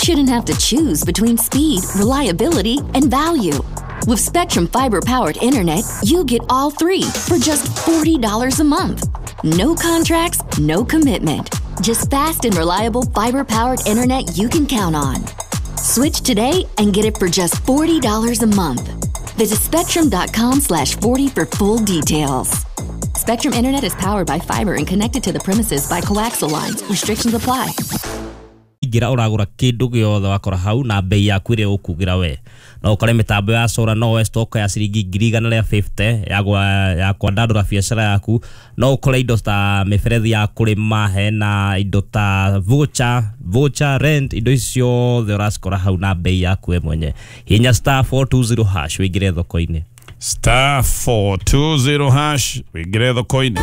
shouldn't have to choose between speed, reliability, and value. With Spectrum fiber-powered internet, you get all three for just $40 a month. No contracts, no commitment. Just fast and reliable fiber-powered internet you can count on. Switch today and get it for just $40 a month. Visit spectrum.com/40 for full details. Spectrum Internet is powered by fiber and connected to the premises by coaxial lines. Restrictions apply. Ingĩra ũragũra kĩndũ gĩothe wakora hau na bei yaku ĩrĩa ũkugĩra we. No ũkore mĩtambo ya solar, no woe stock ya ciringi 150,000 ya kwandandũra biacara yaku. No ũkore indo ta mĩberethi ya kũrĩma, hena indo ta voucher rent, indo ici ciothe ũracikora hau na bei yaku we mwenye. Hinya *420# wĩingĩre thoko-inĩ. *420# wĩingĩre thoko-inĩ.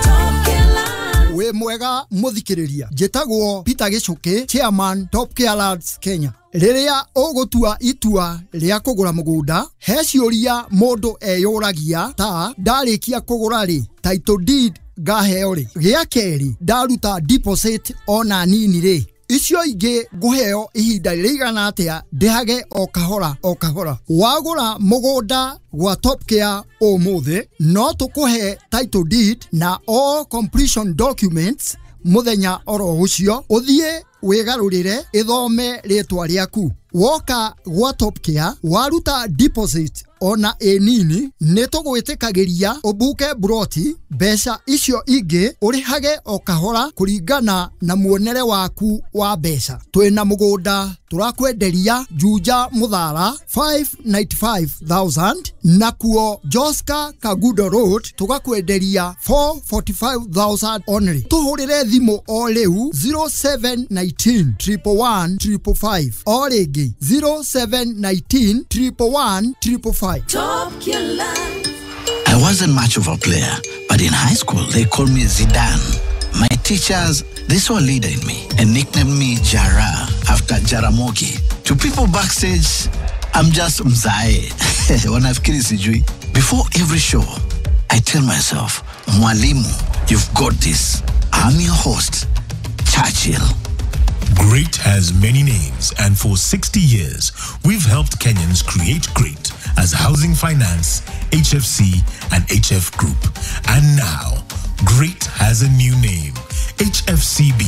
Wĩ mwega mũthikĩrĩria, njĩtagwo Peter Gĩcũkĩ, chairman Top Care Lands Kenya. Rĩrĩa ũgũtua itua rĩa kũgũra mũgũnda, he ciũria mũndũ eyũragia ta ndarĩkia kũgũra rĩ, title deed ngaheo rĩ, gĩa kerĩ ndaruta deposit ona nini rĩ, icio ingĩ ngũheo ihinda rĩigana atĩa ndĩhage o kahora o kahora. Wagũra mũgũnda gwa Top Care ũmũthĩ, no tũkũhe title deed na all completion documents mũthenya oro ũcio, ũthiĩ wĩgarũrĩre ĩthome rĩtwa rĩaku. Woka gwa Top Care waruta deposit ona ĩ nini, nĩ tũgwĩtĩkagĩria ũbuke broti, mbeca icio ingĩ ũrĩhage o kahora kũringana na muonere waku wa mbeca. Twĩna mũgũnda tũrakwenderia Juja Mũthara 595,000, nakuo Joska Kagudo Road tũgakwenderia 445,000 only. Tũhũrĩre thimũ o rĩu 0719 111 555, o rĩngĩ 0719 111 555. Top Killer. I wasn't much of a player, but in high school they called me Zidane. My teachers, they saw a leader in me and nicknamed me Jara after Jaramogi. To people backstage, I'm just Mzae. Wanafikiri sijui. Before every show, I tell myself, Mwalimu, you've got this. I'm your host, Churchill. Great has many names, and for 60 years, we've helped Kenyans create great as Housing Finance, HFC, and HF Group. And now, great has a new name, HFCB,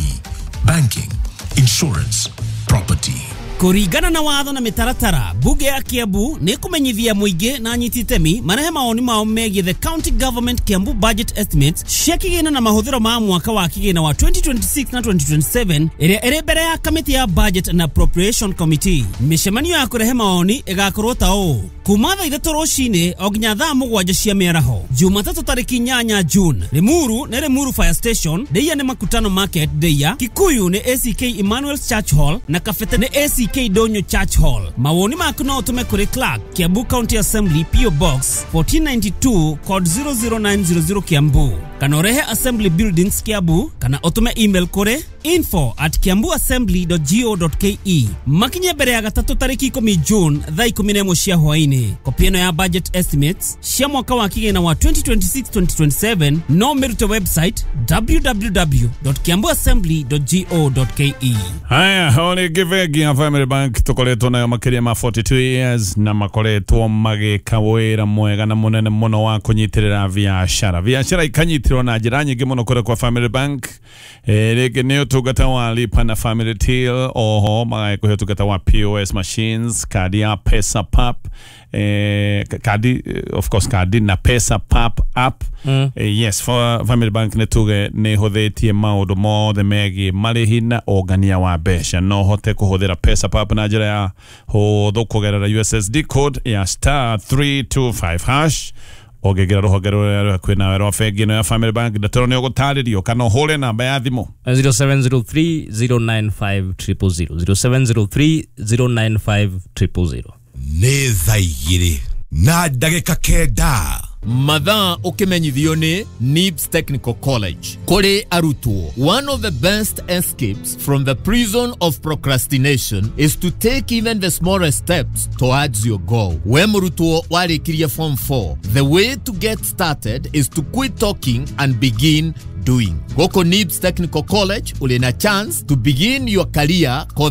Banking, Insurance, Property. Kũringana na watho na mĩtaratara, bunge ya Kiambu nĩ kũmenyithia mũingĩ na anyiti itemi marehe mawoni mao megiĩ the county government Kiambu budget estimates cia kĩgĩna na mahũthĩro ma mwaka wa kĩgĩna wa 2026 na 2027 ĩrĩa ĩrĩ mbere ya kamĩtĩ ya budget and appropriation committee. Mĩcemanio ya kũrehe mawoni ĩgakorwo ta ũũ: kuma thaa 3 rũcinĩ o nginya thaa 7 cia mĩaraho, Jumatatũ tarĩki 8 June. Limuru nĩ Limuru Fire Station, Ndeia nĩ Makutano Market Ndeia, Kikuyu nĩ ACK Emmanuel's Church Hall na Kabete nĩ ACK Donyo Church Hall. Mawoni maku no ũtũme kũrĩ Clerk, Kiambu County Assembly, PO Box 1492 code 00900 Kiambu, kana ũrehe Assembly Buildings Kiambu, kana ũtũme email kũrĩ info@kiambuassembly.go.ke. Makinye mbere ya gatatũ tarĩki 10 June thaa 11 cia hwaĩ-inĩ. Kopi ĩno ya budget estimates cia mwaka wa kĩgĩna wa 2026-2027 no mĩrute website www.kiambuassembly.go.ke. Haya, o rĩngĩ bengi ya Family Bank tũkoretwo nayo makĩria ma 42 years na makoretwo magĩka wĩra mwega na mũnene mũno wa kũnyitĩrĩra biacara. Biacara ikanyitĩrĩrwo na njĩra nyingĩ mũno kũrĩa kwa Family Bank. Rĩngĩ nĩ ũtungata wa lipa na Family Till, oho magagĩkũhe ũtungata wa POS machines, kadi ya Pesa Pap, kadi, of course kadi na Pesa Pap app. Yes, for Family Bank nĩ tuge nĩ hũthĩtie maũndũ mothe megiĩ marĩhi na ũngania wa mbeca. No ũhote kũhũthĩra Pesa Pap na njĩra ya hũthũ kũgerera USSD code ya *325#. Ũngĩingĩra rũhonge rũrĩa rwĩ hakuhĩ nawe rwa bengi ĩno ya Family Bank, ndeto nĩ ũgũtarĩrio kana ũhũre namba ya thimũ 0703 095 000, 0703 095 000. Nĩ thaa 2 na ndagĩka 9. Mathaa ũkĩmenyithio nĩ NIBS Technical College. Kũrĩ arutwo, one of the best escapes from the prison of procrastination is to take even the smallest steps towards your goal. We mũrutwo warĩkirie form 4, the way to get started is to quit talking and begin doing. Gũkũ NIBS Technical College ũrĩ na chance to begin your career kothi